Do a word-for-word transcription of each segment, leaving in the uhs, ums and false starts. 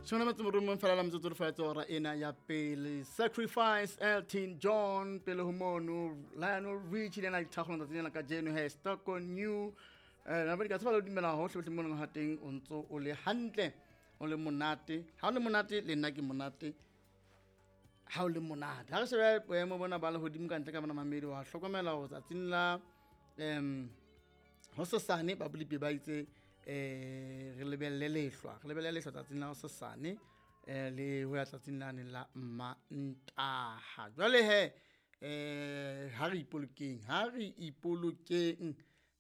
Shona motse morumong fela la metsotso le faetse hora ena ya pele. Sacrifice Elton John pele ho mono Lionel Richie le ena dithakgolo tsatsing lena kajeno he stuck on you. Eh na ka tseba le dumela hohle hohle mo leng ha teng o ntso o le hantle o le monate. Ha o le monate le nna ke monate. Ha o le monate. Ha re shebe boemo bona ba lehodimo ka ntle ka bona mamedi wa hlokomela hore tsatsing la em hosasane ba bolipi ba itse eh re lebelle lehlwa re lebelle lehlwa tsatsing la hosasane eh le ho ya tsatsing lane la Mantaha. Jwale he eh ha re ipolokeng ha re ipolokeng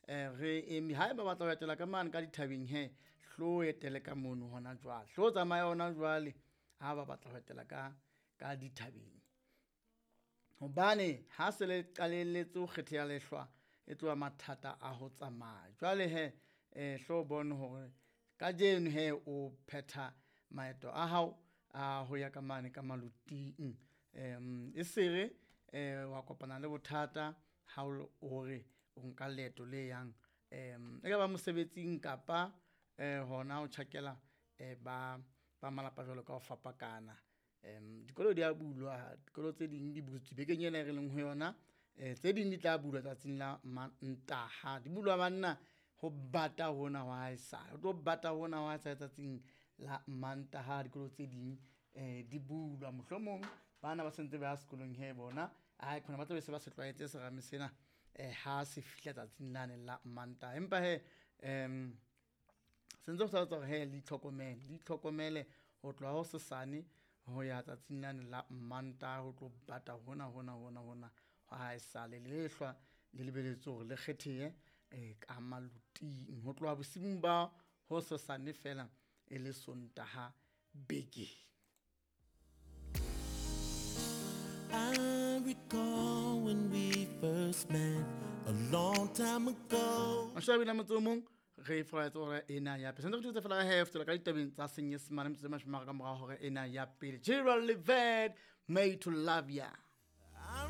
eh re eme ha eba batla ho etela ka mane ka dithabeng he hlo etele ka mono hona jwale hlo tsamaya hona jwale ha ba batla ho etela ka ka dithabeng hobane ha se le qalelletse ho kgetheha lehlwa e tloha mathata a ho tsamaya. Jwale he eh hlo bone hore kajeno he o phetha maeto a hao a ho ya ka mane ka maloting em e sere eh wa kopana le bothata ha o re o nka leeto le yang em e ka ba mosebetsing kapa eh hona o tjhakela eh ba ba malapa jwalo ka ho fapakana. Em dikolo di a bulwa dikolo tse ding di butswe bekeng ena e re leng ho yona eh tse ding di tla bulwa tsatsing la Mantaha di bulwa banna ho bata hona wa haesale ho tlo bata hona wa haesale tsatsing la Mantaha dikolo tse ding eh di bulwa mohlomong bana ba sentse ba ya sekolong he bona ai khona ba tla be se ba se tlwaetse serame sena eh ha se fihla tsatsing lane la Mantaha. Empa he em sentse ho sa tswa he le itlhokomele le itlhokomele ho tloha ho sesane ho ya tsatsing lane la Mantaha ho tlo bata hona hona hona hona ha esale lehlwa le lebeletse hore le kgethehe eh ka maloting ho tloha bosiung ba ho sesane fela e le Sontaha beke. I recall when we first met a long time ago. Mashabila motse o mong re folaetse hore ena ya pele. Sentse re thutse fela he fetola ka ditabeng tsa Senyesemane metsotso e mashome a mararo ka mora hore ena ya pele. Gerald Levert, Made to Love Ya. I